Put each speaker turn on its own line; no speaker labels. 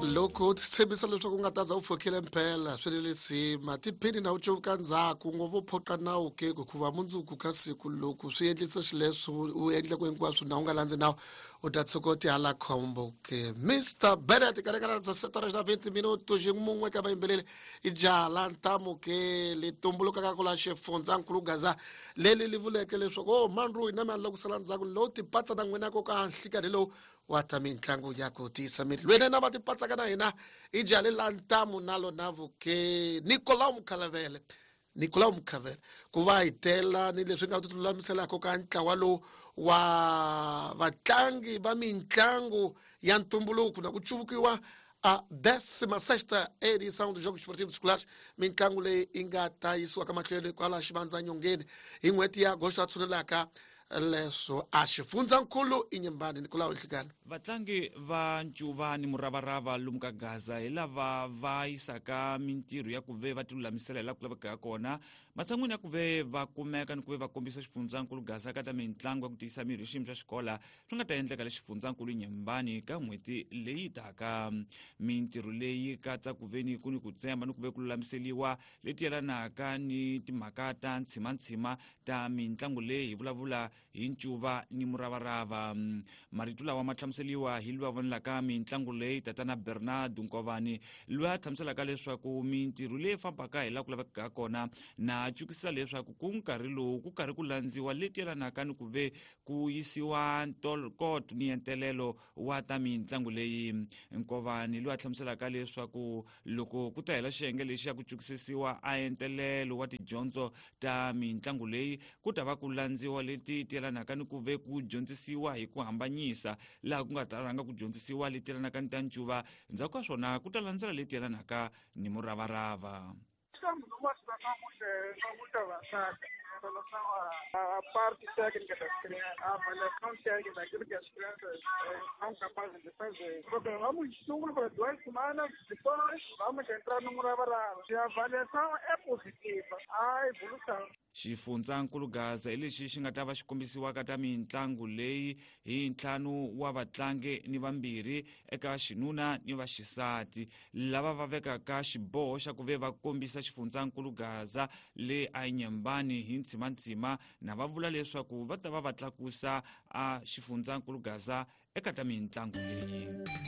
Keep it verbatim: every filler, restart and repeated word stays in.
Loko u tshembisa leswaku u nga ta za u pfukile mpela swi le lisima tiphini na u cuvuka ndzhaku ngopfu u phoqa nawu ke hikuva mundzuku ka siku loko swi endlisa xileswo u endleku hinkwaswo na u nga landzi nawu u ta tshuka u ti hala khombo ke. Mister Bennett karekara dza sete horas na vinte minutos mun'we ka vayimbeleri i jaha la ntamu ke li tumbulukaka ku la xifundzankulu Gaza leli li vuleke leswaku o mandru hina mi a ku sala ndzhaku lowu tipatsa na n'wina ko ka nhlikani lowu wa ta mitlangu ya ku tiyisa miri lwene na va tipatsaka na hina i jaha la ntamu na lona vuke Nicolau Mukhalavele Nicolau Mukhavele ku va hi tela ni leswi nga ti lulamiselaka ka ntlawa lowu wa vatlangi va mitlangu ya ntumbuluko na ku cuvukiwa a décima sexta edição dos Jogos Esportivos Escolares mitlangu leyi yi nga ta yisiwa ka mahlweni kwala xivandzanyongeni hi n'hweti ya agosto a tshunelaka leswo a xifundzankulu i Nyembani Nicolau Nhlikani.
Vatlangi va ncuva ni muravarava lomu ka Gaza hi lava va yisaka mintirho ya ku ve va tilulamisela hi laha ku lavekaka kona matshan'wini ya ku ve va kumeka ni ku ve va kombisa xifundzankulu Gaza ka ta mitlangu ya ku tiyisa miri hi xiyimo xa xikola swi nga ta endleka le xifundzankulu Nyembani ka n'hweti leyi taka. Mintirho leyi katsa ku ve ni ku ni ku tsemba ni ku ve ku lulamiseliwa leti yelanaka ni timhaka ta ntshimantshima ta mitlangu leyi hi vulavula hi ncuva ni muravarava. Marito lawa ma hlamuseliwa hi loyi a vonelaka mitlangu leyi tatana Bernard Nkovani loyi a hlamuselaka leswaku mintirho leyi fambaka hi laha ku lavekaka kona na cukisa leswaku ku nkarhi lowu ku karhi ku landziwa leti yelanaka ni ku ve ku yisiwa ntokoto ni entelelo wa ta mitlangu leyi. Nkovani loyi a hlamuselaka leswaku loko ku ta hela xiyenge lexi ya ku cukisisiwa a entelelo wa tidyondzo ta mitlangu leyi ku ta va ku landziwa leti yelanaka ni ku ve ku dyondzisiwa hi ku hambanyisa laha ku nga ta rhanga ku dyondzisiwa leti yelanaka ni ta ncuva ndzhaku ka swona ku ta landzela leti yelanaka ni muravarava.
Estamos numa situação muito, muito avançada em relação à, à parte técnica das crianças, à avaliação técnica daquilo que as crianças eh, são capazes de fazer. Programamos estudo para duas semanas, depois vamos entrar no muravarava. Se a avaliação é positiva, há evolução.
Xifundzankulu Gaza hi lexi xi nga ta va xi kombisiwaka ta mitlangu leyi hi ntlhanu wa vatlangi ni vambirhi eka xinuna ni vaxisati lava va vekaka xiboho xa ku ve va kombisa xifundzankulu Gaza le a Nyembani hi ntsimantsima na va vula leswaku va ta va va tlakusa a xifundzankulu Gaza eka ta mitlangu leyi.